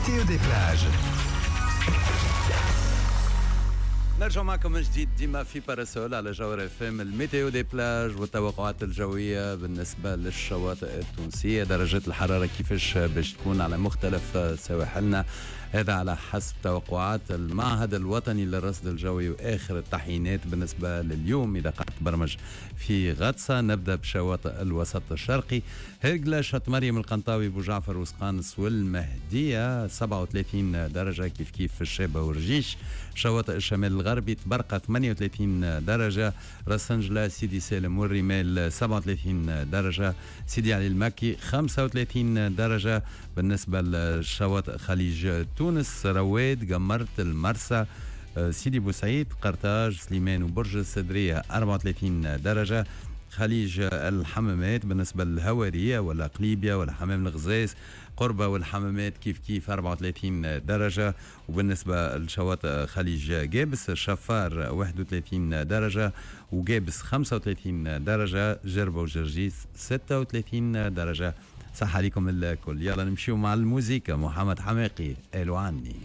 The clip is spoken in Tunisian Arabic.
météo des plages. نرجع معكم من جديد ديما في Parasol على جوهرة اف ام، ال météo des plages والتوقعات الجوية بالنسبة للشواطئ التونسية، درجات الحرارة كيفاش باش تكون على مختلف سواحلنا، هذا على حسب توقعات المعهد الوطني للرصد الجوي واخر التحيينات بالنسبة لليوم. اذا قعدت برمج في غطسه، نبدا بشواطئ الوسط الشرقي: هرقله، شط مريم، القنطاوي، بوجعفر وسقانس والمهديه 37 درجه، كيف كيف في الشابة ورجيش. شواطئ الشمال الغربي: طبرقة 38 درجة، راس انجلة، سيدي سالم والرمال 37 درجة، سيدي علي المكي 35 درجة. بالنسبة لشواطئ خليج تونس: رواد، قمرت، المرسى، سيدي بوسعيد، قرطاج، سليمان وبرج السدرية 34 درجة. خليج الحمامات بالنسبة للهوارية ولا قليبيا ولا حمام الغزاز، قربة والحمامات كيف كيف 34 درجة. وبالنسبة لشواطئ خليج جابس: الشفار 31 درجة وجابس 35 درجة، جربة وجرجيس 36 درجة. صح عليكم الكل. يلا نمشيو مع الموزيكا، محمد حماقي، قالوا عني.